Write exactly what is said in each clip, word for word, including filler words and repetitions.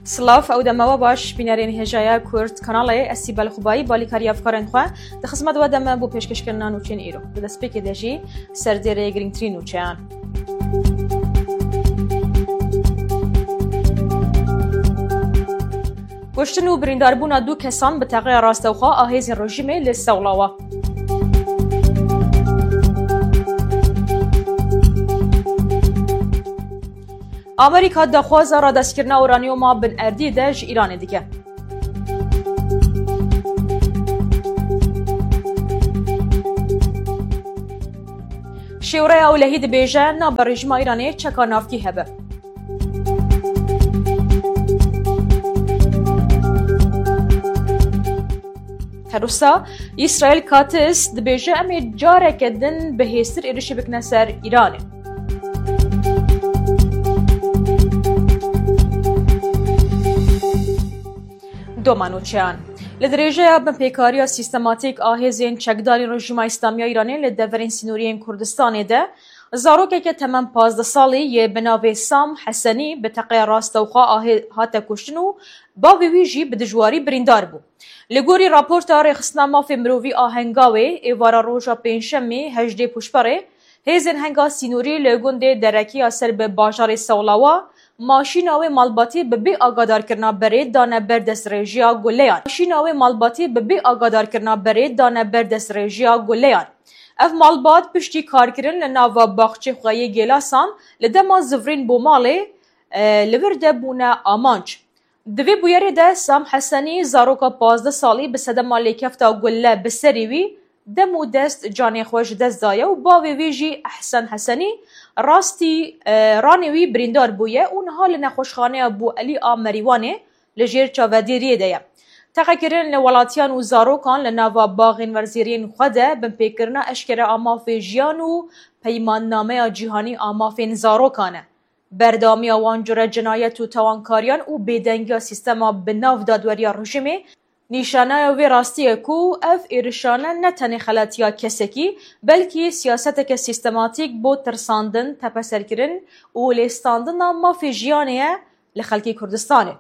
Silav, ew deme we baş, bînerên hêjaya Kurd Kanalê, ez Sîbel Xubayî, balîkarî hevkarên xwe, di xizmet we de me bo pêşkêşkirina nûçeyên îro. Di destpêkê de jî serdêrê girîngtirîn nûçeyan. Kuştin û birîndarbûna du kesan bi teqeya rastewxwe a hêzên rejîmê li Sewlawa. Amerîka daxwaza radestkirina uranyoma bin erdî de ji Îranê dike. Şêwreya Ewlehî dibêje, nabe rejîma Îranê çeka navkî hebe. Her wisa Îsraîl Katz dibêje, em ê careke din bi hêztir êrişî bikine ser Îranê. Doma nûçeyan. Li dirêjeya binpêkariya sîstematîk a hêzên çekdarên Rejîma Îslamiya Îranê li deverên sînoriyên Kurdistanê de, zarokeke temam pazdeh salî yê bi navê Sam Hesenî bi teqeya rastewxwe a hê-, hate kuştin û bavê wî jî bi dijwarî birîndar bû. Li gorî raporta Rêxistina Mafê Mirovî a Hengawê, êvara roja Pêncşemê hejdê Pûşberê, hêzên Henga Sînorî li gundê Derekiya ser bi bajarê Sewlawa, maşîna wê malbatî bi bê agadarkirina berê dane ber destdirêjiya guleyan. Maşîna wê malbatî bi bê agadarkirina berê dane ber destdirêjiya guleyan. Ev malbat piştî karkirin li nava baxçê xwe yê Gêlasan li dema zivrîn bo malê, e, li vir de bûne amanc. Di vê bûyerê de Sam Hesenî, zaroka pazdeh salî, bi sedema lêkefta gulle bi serî wî dem û dest canê xwe ji dest daye û bavê wî jî Ehsen Hesenî rastî, e, ranê wî birîndar bûye û niha li nexweşxaneya Bû Elî a Merîwanê li jêr çavedêriyê de ye. Teqekirin li welatiyan û zarokan li nava baxên werzîriyên xwe de binpêkirina eşkere a mafê jiyan û peymannameya cîhanî a mafên zarokan e. Berdewamiya wan cure cinayet û tawankariyan û bêdengiya sîstema bi nav dadweriya rejîmê nîşanaya vê rastiyê ku ev êrişane ne tenê xelatiya kesekî, belkî siyaseteke sîstematîk bo tirsandin, tepeserkirin û lêstandina mafê jiyanê ye li xelkê Kurdistanê.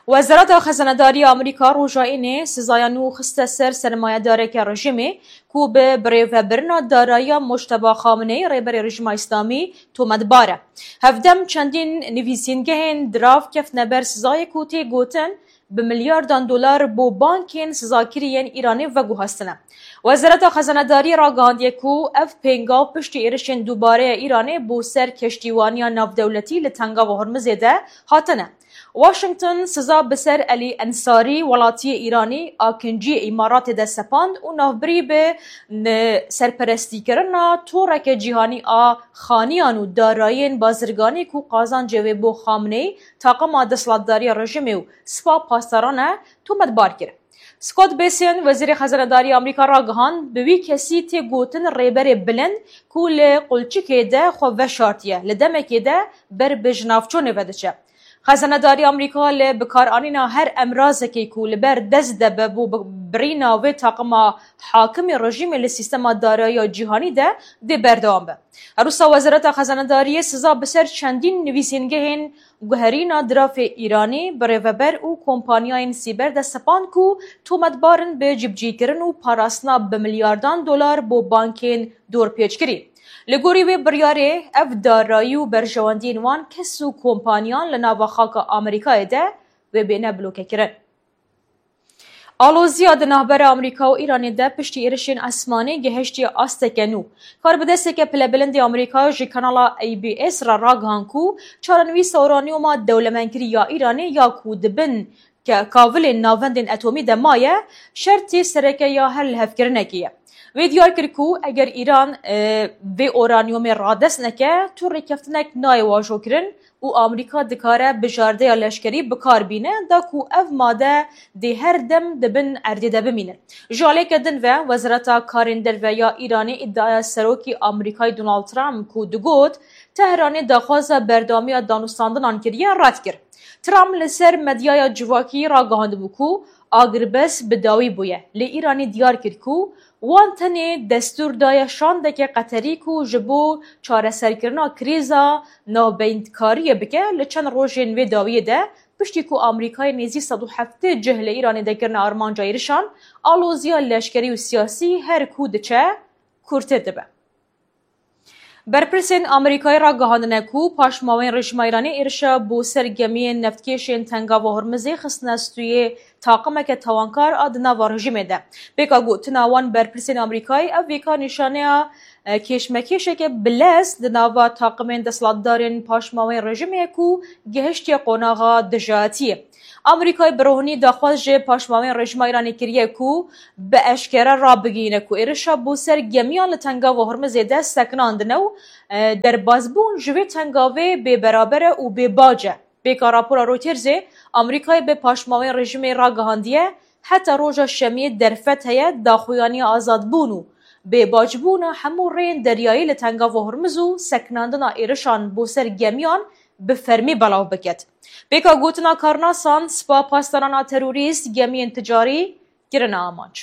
Wezareta Xezanedarî ya Amerîka roja Înê sizaya nû xiste ser sermayedareke rejîmê ku bi birêvebirina darayiya Mojteba Xameneî, rêberê Rejîma Îslamî, tometbar e. Hevdem çendîn nivîsîngehên dirav keftine ber sizayê ku tê gotin bi milyardan dolar bo bankên sizakirî yên Îranê veguhestine. Wezareta Xezanedarî ragihandiye ku ev pêngav piştî êrişên dubare ya Îranê bo ser keştîwaniya navdewletî li Tengava Hormizê de hatine. Washington siza bi ser Elî Ensarî, welatiyê Îranî, akinciyê Îmaratê de sepand û navbirî bi n-, serperestîkirina toreke cîhanî a xaniyan û darayiyên bazirganî ku qazancê wê bo Xameneî, taqima desthilatdariya rejîmê û Spa Pasdaran e, tometbar kir. Scott Bessent, Wezîrê Xezanedarî Amerîka ragihand, bi wî kesî tê gotin rêberê bilind ku li qulçikê de xwe veşartiye, li demekê de ber bi jinavçûnê ve diçe. Xezanedarî Amerîka li bikaranîna her emrazekê ku li ber dest de be bo bi-, birîna vê taqima hakimê rejîmê li sîstema darayiya cîhanî de dê berdewam be. Her wisa Wezareta Xezanedariyê siza bi ser çendîn nivîsîngehên guherîna dirafê Îranî, birêveber û kompaniyayên sîber de sepand ku tometbar in bi cîbicîkirin û parastina bi milyardan dolar bo bankên dorpêçkirî. Li gorî wê biryarê, ev darayî û berjewendiyên wan kes û kompaniyan li nava xaka Amerîkayê de wê bêne blokekirin. Aloziya di navbera Amerîka û Îranê de piştî êrişên esmanî gihiştiye asteke nû. Karbidesteke pilebilind ê Amerîka ji kanala A B S re ragihand ku çarenivîsa uranyoma dewlemendkirî ya Îranê ya ku di bin ke-, kavilên navendên etomî de maye, şertê sereke ya her lihevkirinekê ye. Wê diyar kir ku eger Îran, e, vê uranyomê radest neke, tu rêkeftinek nayê wajokirin û Amerîka dikare bijardeya leşkerî bi kar bîne, da ku ev made dê her dem di bin erdê de bimînin. Ji aliyeke din ve, Wezareta Karên Derve ya Îranê îdiaya Serokê Amerîkayê Donald Trump ku digot Tehranê daxwaza berdewamiya danûstandinan kiriye, red kir. Trump li ser medyaya civakî ragihandibû ku agirbest bi dawî bûye. Lê Îranê diyar kir ku Wan tenê destûr daye şandeke Qeterî ku ji bo çareserkirina krîza navbeyntkariyê bike. Li çend rojên vê dawiyê de, piştî ku Amerîkayê nêzî sed û heftê cih li Îranê de kirine armanca êrişan, aloziya leşkerî û siyasî her ku diçe kûrtir dibe. Berpirsên Amerîkayê ragihandine ku paşmawên rejîma Îranê êrişa bo ser gemiyên neftkêşên Tengava Hormizê xistine stûyê taqimeke tawankar a di nava rejîmê de. Pêka gotina wan, berpirsên Amerîkayê ev vêka nîşaneya, e, kêşmekêşeke bilez di nava taqimên desthilatdarên paşmawên rejîmê ye ku gihiştiye qonaxa dijayatiyê. Amerîkayê bi rohnî daxwaz ji paşmawên rejîma Îranê kiriye ku bi eşkere rabigihîne ku êrişa bo ser gemiyan li Tengava Hormizê de sekinandine û, e, derbazbûn ji vê tengavê bêberaber e û bêbac e. Pêka rapora Reutersê, Amerîkayê bi paşmawên rejîmê ragihandiye, heta roja şemiyê derfet heye daxuyaniya azadbûn û bêbacbûna hemû rêyên deryayî li Tengava Hormiz û sekinandina êrişan bo ser gemiyan bi fermî belav biket. Pêka gotina karnasan, spa pasdaran a terorîst gemiyên ticarî kirine amanc.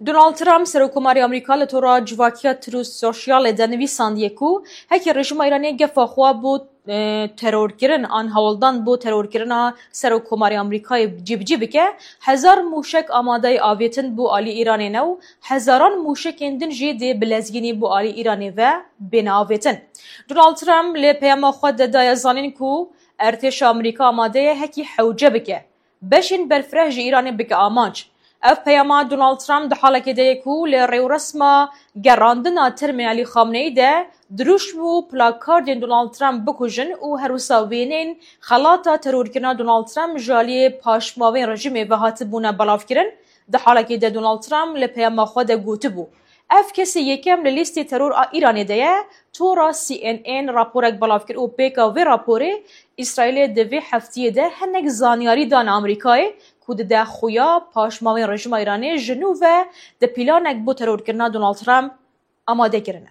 Donald Trump, Serokkomarê Amerîka, li tora civakiya Truth Socialê de nivîsandiye ku heke rejîma Îranê gefa xwe bo, e, terorkirin an hewldan bo terorkirina Serokkomarê Amerîkayê cîbicî bike, hezar mûşek amadeyê avêtin bo alî Îranê ne û hezaran mûşekên din jî dê bi lezgînî bo alî Îranê ve bêne avêtin. Donald Trump li peyama xwe de daye zanîn ku ertêşa Amerîka amade ye hekî hewce bike, beşên berfireh ji Îranê bike amanc. Ev peyama Donald Trump di halekê de ye ku li rêwresma gerandina termê Elî Xamneî de dirûşm û plakardên Donald Trump bikujin û her wisa wêneyên xelata terorkirina Donald Trump ji aliyê paşmawên rejîmê ve hatibûne belavkirin. Di halekê de Donald Trump li peyama xwe de gotibû, ev kesê yekem li lîstê teror a Îranê de ye. Tora C N N raporek belav kir û pêka vê raporê Îsraîlê di vê heftiyê de hinek zanyarî dane Amerîkayê ku dide xuya paşmawên rejîma Îranê ji nû ve di pîlanek bo terorkirina Donald Trump amade kirine.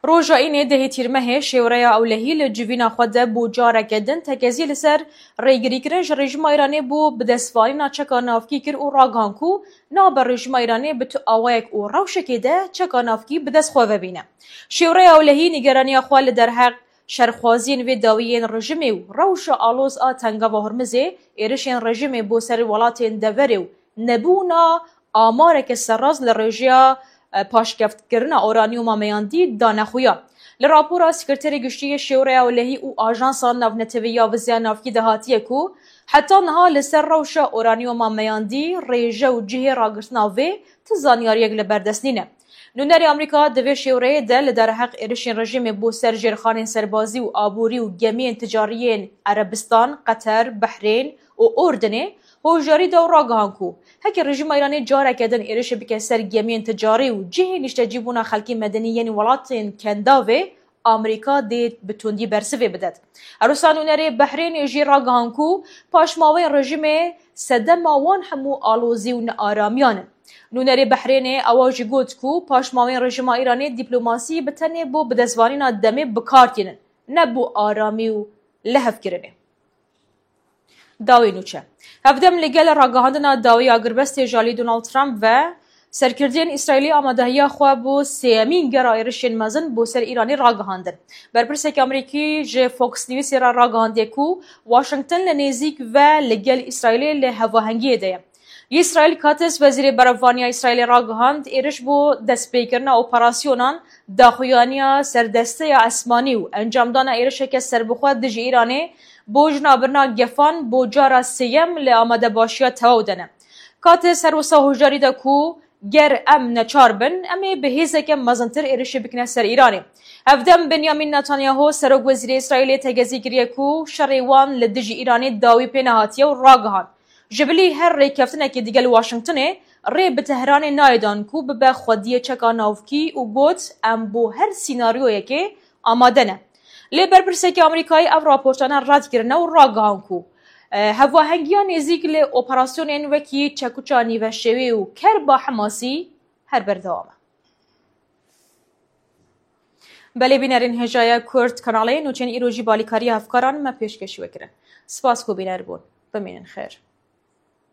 Roja Înê dehê Tîrmehê şêwreya ewlehî li civîna xwe de bo careke din tekezî li ser rêgirîkirin ji rejîma Îranê bo bidestvanîna çeka navkî kir û ragihan ku nabe rejîma Îranê bi tu awayek û rewşekê de çeka navkî bi dest xwe ve bîne. Şêwreya ewlehî nîgeraniya xwe li derheq şerxwaziyên vê dawiyên rejîmê û rewşa aloz a Tengava Hormizê, êrişên rejîmê bo ser welatên deverê û nebûna amareke serrast li rêjeya, e, paşkevtkirina uranyuma meyandî dane xuya. Li rapora Sekreterê Giştî yê Şêwreya Ewlehî û Ajansa Navnetewî ya Viziya Navkî de hatiye ku heta niha li ser rewşa uranyuma meyandî, rêje û cihê ragirtina vê ti zanyariyek li ber dest nîne. Nûnerê Amerîka di vê şêwreyê de li derheq êrişên rejîmê bo ser jêrxanên serbazî û aborî û gemiyên ticarî yên Erebistan, Qeter, Behrên û Urdinê hoşdarî da û ragihan ku heke rejîma Îranê careke din êrişê bike ser gemiyên ticarî û cihê niştecîbûna xelkê medenî yên welatên Kendavê, Amerîka dê bi tundî bersivê bidet. Her wisa nûnerê Behrênê jî ragihan ku paşmawên rejîmê sedema wan hemû alozî û nearamiyan in. Nûnerê Behrênê ewa jî got ku paşmawên rejîma Îranê dîplomasî bi tenê bo bidestvanîna demê bi kar tînin, ne bo aramî û lihevkirinê. Dawî nûçe. Hevdem li gel ragihandina dawî agirbestê ji alî Donald Trump ve, serkirdeyên Îsraîlî amadehiya xwe bo sêyemîn gera êrişên mezin bo ser Îranê ragihandin. Berpirsek Amerîkî ji Fox Newsê re ragihandiye ku Washington li nêzîk ve li gel Îsraîlê li hevahengiyê de ye. Yisrael Katz, wezîrê berevaniya Îsraîlê ragihand, êriş bo destpêkirina operasyonan, daxuyaniya serdesteya esmanî û encamdana êrişeke serbixwe dijî Îranê bo jinabirina gefan bo cara sêyem li amadebaşiya tewaw de ne. Katz her wisa hoşdarî da ku ger em neçar bin, em ê bi hêzeke mezintir êrişê bikine ser Îranê. Hevdem Benyamin Netanyahu, serokwezîrê Îsraîlê, tegezî kiriye ku şerê wan li dijî Îranê dawî pê nehatiye û ragihand, ji bilî her rêkeftinekê digel Washingtonê rê bi Tehranê nayê dan ku bibe xwediyê çeka navkî û got, em bo her sînaryoyekê amade ne. Lê berpirsekî Amerîkayê ev raportane red kirine û ragihan ku, e, hevahengiya nêzîk li operasyonên wekî çekuça nîveşewê û kerba Hemasî her berdewam e. Belê bînerên hêjaya Kurd kanalê, nûçeyên îro jî balîkariya hevkaran me pêşkêşî we kirin. Spas ku bîner bûn. Bimînin xêr.